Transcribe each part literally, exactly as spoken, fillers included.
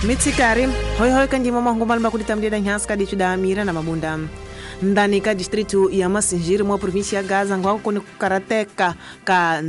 Mitsikari hoihoi kanjima mahungu malima kulitamdia nyansi kadichuda mira na mabunda ndani ka distritu ya Masinjiri mwa província ya Gaza ngwako kuni kukarateka ka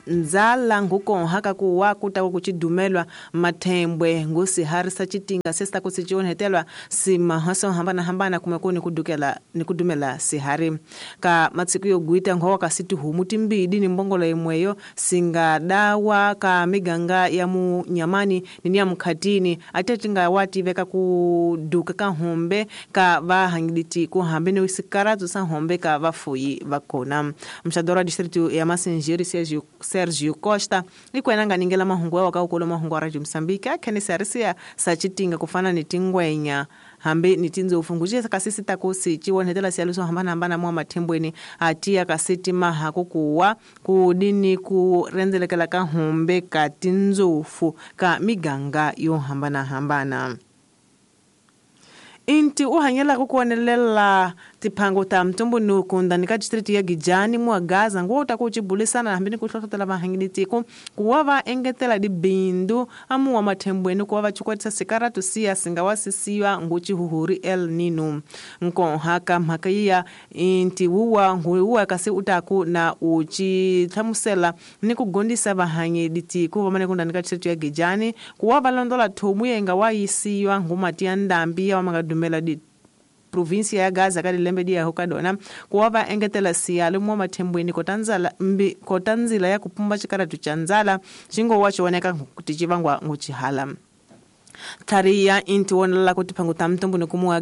nzala ngukonha kakuwa kutako kuchidumelwa mathembwe ngusiharisa chitinga sesta kusichionhetelwa simahaso hambana hambana kumekuni kudukela ni kudumela sihari ka matsiku yoguita ngowa kasiti humu timbidi ni mbongolo imweyo singadawa ka miganga ya munyamani nini ya mkhatini atetinga wati veka kuduka ka hombe ka vahangiditi kuhambe ni usikaradzo sa hombe ka vafuyi vakona mxadora distritu ya Masinjiri Sergio Sergio Costa ikwena ningela mahungu wa ka mahungu wa Radio Mozambique akhenisa risia sachitinga kufana ni tingwenya hambe ni tinzo ufunguje kasisi takosi chiwonhetela sialuso hambana hambana mwa mathembweni atia kasiti maha kukuwa kudini kurenzelekela ka humbe ka tinzofu ka miganga yo hambana hambana. Inti uhanyela kukuonelela tiphango ta mtumbunuku ndani ka district ya Gijani mwa Gaza ngo utakuchibulisana hambini kuhlohlotela vahangiditiko kuwa va engetela dibindu amuwa mathembweni kuwa va chikwatisa sikaratu siya singawasisiwa nguchihuhuri El Nino nkonha ka mhaka yiya inti wuwa nguwa kasi utaku na uchihlamusela ni kugondisa vahangiditiko vamane kundani ka district ya Gijani kuwa va londola thomu yenga wayisiwa ngumati ya ndambi ya wamanga dumela di província ya Gaza ka dilembe di yaho ka dona kuwa va engetela siyalo mwa mathembweni kotanzala mbi kotanzila ya kupumba chikaratu cha nzala xingo wa chioneka kuti chivangwa nguchihala tlhariya inti wonela kuti phangu ta mtumbu kumuwa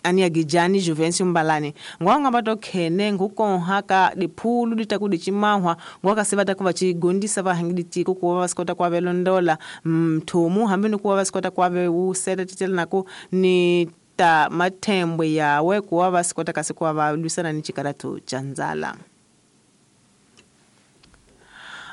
ani ya Gijani Juvencio Mbalani ngwanga bato khene ngukonha ka diphulu ditaku dichimahwa ngwaka sivata kuva chigondisa vahangiditiko kuva vasikota kwa velondola mthumu hambi ni kuva vasikota kwa veuseta titela nako ni ta mathembwe yawe kuva vasikota kasi kuva va lwisana ni chikaratu cha nzala.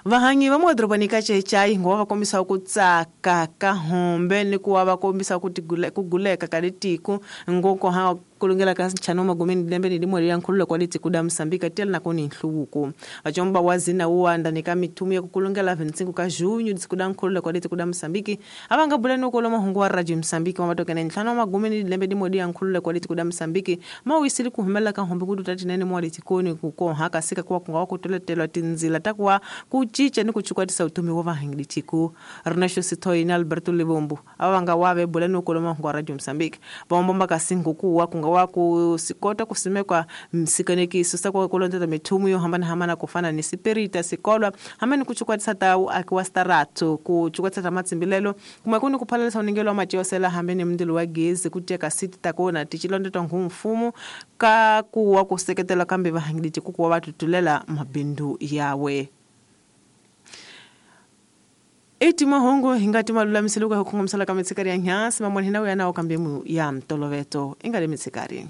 Vahangi va muadrobani ka chechai ngo va kombisa ku tsaka ka hombe ni kuwa va kombisa ku kuguleka ka litiko ngoko ha kulungela ka nchano magumeni lembe ni limwe ya nkhululo kwa litiko da Mozambique tela na kuni nhluvuko vachomba wazina uwanda ni ka mithumu ya kukulungela vintsingu ka junho tsiku da nkhululo kwa litiko da Mozambique avanga bulani uko mahungu wa Radio Mozambique wa matokene ntlhanu magumeni lembe limwe ya nkhululo kwa litiko da Mozambique mawisili kuhumela ka hombe ku tutathinene mwa litikoni kukonha kasika kwa kunga kutoletelwa tinzila takuwa kuchicha ni kuchukwatisa utumi wa vahangiditiko Ernesto Sitoi na Alberto Libombo avanga wave bulani uko mahungu wa Radio Mozambique vaombomba kasingu kuwa kunga wa kusikota kusimekwa msikanekiso sa kulondela mithumu yo hambana hambana kufana ni sipirita sikolwa hamani kuchukwatisa tawu akiwa staratu kuchukwatisa ta matsimbilelo kumwe kuni kuphalalisa uningelo wa matiosela hambe ni mndilo wa gezi kuteka siti takona tichilondetwa ngumfumo ka kuwa kuseketela kambe vahangiditi kukuwa vatutulela mabindu yawe. Eti mahungu hingati malulamiselo ka hukhongomisela ka mitsikari ya nyasi mamone hina uyana okambemu ya mtoloveto ingale mitsikari.